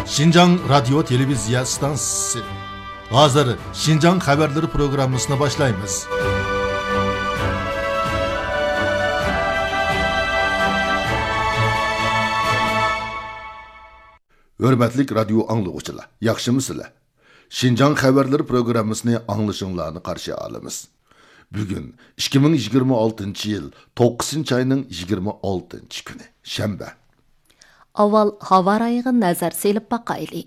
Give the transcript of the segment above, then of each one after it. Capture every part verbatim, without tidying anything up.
شىنجاڭ رادىيو تېلېۋىزىيە ئىستانسىسى. ھازىر شىنجاڭ خەۋەرلىرى پروگراممىسىنى باشلايمىز. ھۆرمەتلىك رادىيو ئاڭلىغۇچىلار، ياخشىمۇسىلەر؟ شىنجاڭ خەۋەرلىرى پروگراممىسىنى ئاڭلىشىڭلارنى قارشى ئالىمىز. بۈگۈن ئىككى مىڭ يىگىرمە ئالتىنچى يىل توققۇزىنچى ئاينىڭ يىگىرمە ئالتىنچى كۈنى، شەنبە. ئاۋۋال ھاۋا رايىغا نەزەر سېلىپ باقايلى.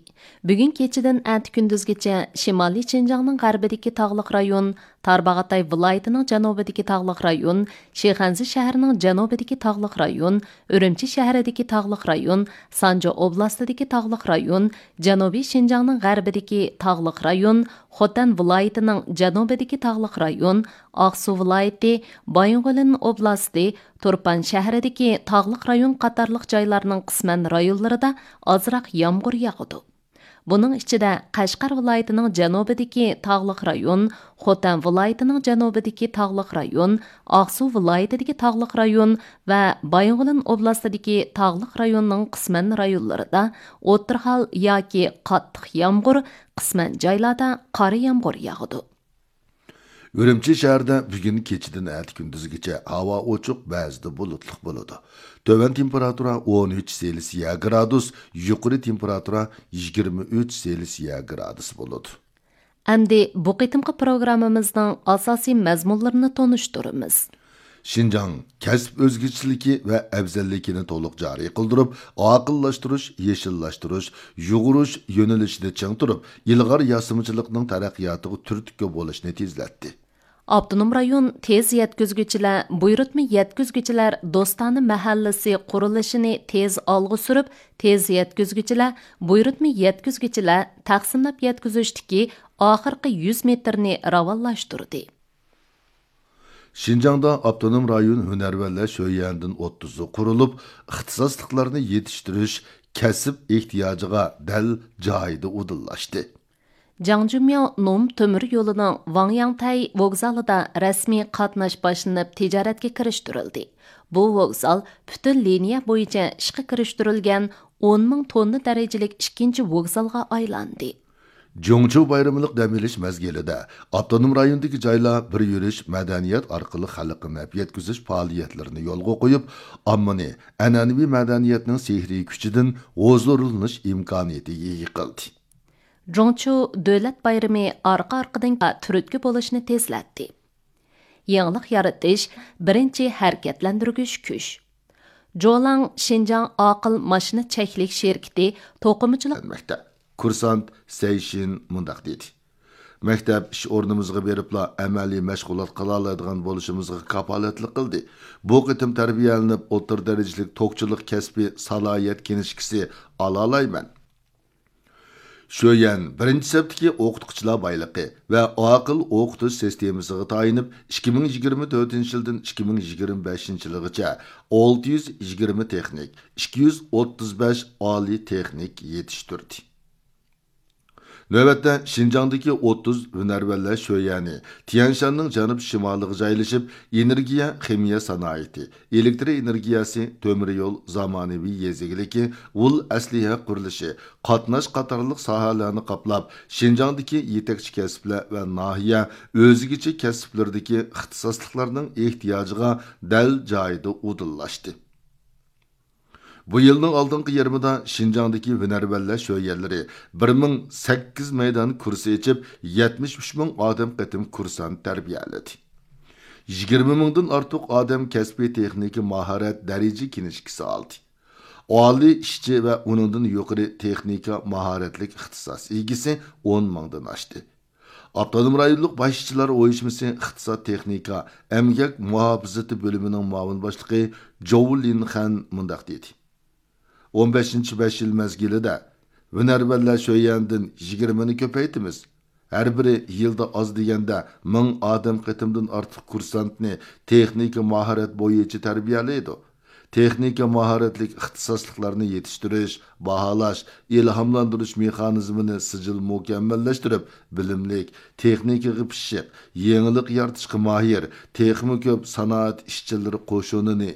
بۈگۈن كېچىدىن ئەتە كۈندۈزگىچە شىمالىي شىنجاڭنىڭ غەربىدىكى تاغلىق رايون، تارباغاتاي ۋىلايىتىنىڭ جەنۇبىدىكى تاغلىق رايون، شىخەنزە شەھىرىنىڭ جەنۇبىدىكى تاغلىق رايون، ئۈرۈمچى شەھىرىدىكى تاغلىق رايون، سانجى ئوبلاستىدىكى تاغلىق رايون، جەنۇبىي شىنجاڭنىڭ غەربىدىكى تاغلىق رايون، خوتەن ۋىلايىتىنىڭ جەنۇبىدىكى تاغلىق رايون، ئاقسۇ ۋىلايىتى، بايىنغولىن ئوبلاستى، تۇرپان شەھىرىدىكى تاغلىق رايون قاتارلىق جايلارنىڭ قىسمەن رايونلىرىدا ئازراق يامغۇر ياغىدۇ. بۇنىڭ ئىچىدە قەشقەر ۋىلايىتىنىڭ جەنۇبىدىكى تاغلىق رايون، خوتەن ۋىلايىتىنىڭ جەنۇبىدىكى تاغلىق رايون، ئاقسۇ ۋىلايىتىدىكى تاغلىق رايون ۋە بايىنغولىن ئوبلاستىدىكى تاغلىق رايوننىڭ قىسمەن رايونلىرىدا ئوتتۇرا ھال ياكى قاتتىق يامغۇر، قىسمەن جايلاردا قارا يامغۇر ياغىدۇ. ئۈرۈمچى شەھىرىدە بۈگۈن كېچىدىن ئەتە كۈندۈزگىچە ھاۋا ئوچۇق، بەزىدە بۇلۇتلۇق بولىدۇ. تۆۋەن تېمپېراتۇرا ئون ئۈچ سېلسىيە گرادۇس، يۇقىرى تېمپېراتۇرا يىگىرمە ئۈچ سېلسىيە گرادۇس بولىدۇ. ئەمدى بۇ قېتىمقى پروگراممىمىزنىڭ ئاساسىي مەزمۇنلىرىنى تونۇشتۇرىمىز. شىنجاڭ كەسىپ ئۆزگىچىلىكى ۋە ئەۋزەللىكىنى تولۇق جارى قىلدۇرۇپ، ئاقىللاشتۇرۇش، يېشىللاشتۇرۇش، يۇغۇرۇش يۆنىلىشىنى چىڭ تۇرۇپ، ئىلغار ياسىمىچىلىقنىڭ تەرەققىياتىغا تۈرتكە بولۇشنى تېزلەتتى. ئاپتونوم رايون تېز يەتكۈزگۈچىلەر، بۇيرۇتما يەتكۈزگۈچىلەر دوستانە مەھەللىسى قۇرۇلۇشىنى تېز ئالغا سۈرۈپ، تېز يەتكۈزگۈچىلەر، بۇيرۇتما يەتكۈزگۈچىلەر تەقسىملەپ يەتكۈزۈشتىكى ئاخىرقى يۈز مېتىرنى راۋانلاشتۇردى. شىنجاڭدا ئاپتونوم رايون ھۈنەرۋەنلەر شۆيۈەندىن ئوتتۇزى قۇرۇلۇپ، ئىختىساسلىقلارنى يېتىشتۈرۈش كەسىپ ئېھتىياجىغا دەل جايىدا ئۇدۇللاشتى. جاڭجۈمياۋ نوم تۆمۈر يولىنىڭ ۋاڭياڭتەي ۋوگزالىدا رەسمىي قاتناش باشلىنىپ تىجارەتكە كىرىشتۈرۈلدى. بۇ ۋوگزال پۈتۈن لىنىيە بويىچە ئىشقا كىرىشتۈرۈلگەن ئون مىڭ توننا دەرىجىلىك ئىككىنچى ۋوگزالغا ئايلاندى. جۇڭچۇ بايرىملىق دەم ئېلىش مەزگىلىدە ئاپتونوم رايوندىكى جايلار بىر يۈرۈش مەدەنىيەت ئارقىلىق خەلققە نەپ يەتكۈزۈش پائالىيەتلىرىنى يولغا قويۇپ، ئاممىنى ئەنئەنىۋى مەدەنىيەتنىڭ سېھرىي كۈچىدىن ھۇزۇرلىنىش ئىمكانىيىتىگە ئىگە قىلدى. جۇڭچۇ دۆلەت بايرىمى ئارقا-ئارقىدىن تۈرتكە بولۇشنى تېزلەتتى. يېڭىلىق يارىتىش، بىرىنچى ھەرىكەتلەندۈرگۈچ كۈچ. جولاڭ شىنجاڭ ئاقىل ماشىنا چەكلىك شىركىتى توقۇمىچىلىق مەكتەپ كۇرسانت سەيشىن مۇنداق دېدى: مەكتەپ ئىش ئورنىمىزغا بېرىپلا ئەمەلىي مەشغۇلات قىلالايدىغان بولۇشىمىزغا كاپالەتلىك قىلدى. بۇ قېتىم تەربىيەلىنىپ ئوتتۇرا دەرىجىلىك توكچىلىق كەسپىي سالاھىيەت كىنىشكىسى ئالالايمەن. شۆيەن بىرىنچى سەپتىكى ئوقۇتقۇچىلار بايلىقى ۋە ئاقىل ئوقۇتۇش سىستېمىسىغا تايىنىپ، ئىككى مىڭ يىگىرمە تۆتىنچى يىلدىن ئىككى مىڭ يىگىرمە بەشىنچى يىلغىچە ئالتە يۈز يىگىرمە تېخنىك، ئىككى يۈز ئوتتۇز بەش ئالىي تېخنىك يېتىشتۈردى. نۆۋەتتە شىنجاڭدىكى ئوتتۇز ھۈنەرۋەنلەر شۆيەنى تيەنشاننىڭ جەنۇب شىمالىغا جايلىشىپ، ئېنېرگىيە خىمىيە سانائىتى، ئېلېكتر ئېنېرگىيەسى، تۆمۈر يول، زامانىۋى يېزا ئىگىلىكى، ئۇل ئەسلىھە قۇرۇلۇشى، قاتناش قاتارلىق ساھەلەرنى قاپلاپ، شىنجاڭدىكى يېتەكچى كەسىپلەر ۋە ناھىيە ئۆزگىچە كەسىپلىرىدىكى ئىختىساسلىقلارنىڭ ئېھتىياجىغا دەل جايىدا ئۇدۇللاشتى. بۇ يىلنىڭ ئالدىنقى يېرىمىدا شىنجاڭدىكى ھۈنەرۋەنلەر شۆيەنلىرى بىر مىڭ سەككىز مەيدان كۇرس ئېچىپ، يەتمىش ئۈچ مىڭ ئادەم قېتىم كۇرسانت تەربىيەلىدى. يىگىرمە مىڭدىن ئارتۇق ئادەم كەسپىي تېخنىكا ماھارەت دەرىجە كىنىشكىسى ئالدى. ئالىي ئىشچى ۋە ئۇنىڭدىن يۇقىرى تېخنىكا ماھارەتلىك ئىختىساس ئىگىسى ئون مىڭدىن ئاشتى. ئاپتونوم رايونلۇق باش ئىشچىلار ئۇيۇشمىسى ئىقتىساد تېخنىكا ئەمگەك مۇھاپىزىتى بۆلۈمىنىڭ مۇئاۋىن باشلىقى جوۋ لىنخەن مۇنداق دېدى: ئون بەشىنچى بەش يىل مەزگىلىدە ھۈنەرۋەنلەر شۆيەندىن يىگىرمىنى كۆپەيتىمىز. ھەر بىرى يىلدا ئاز دېگەندە مىڭ ئادەم قېتىمدىن ئارتۇق كۇرسانتنى تېخنىكا ماھارەت بويىچە تەربىيەلەيدۇ. تېخنىكا ماھارەتلىك ئىختىساسلىقلارنى يېتىشتۈرۈش، باھالاش، ئىلھاملاندۇرۇش مېخانىزمىنى سىجىل مۇكەممەللەشتۈرۈپ، بىلىملىك، تېخنىكىغا پىششىق، يېڭىلىق يارىتىشقا ماھىر، تېخىمۇ كۆپ سانائەت ئىشچىلىرى قوشۇنىنى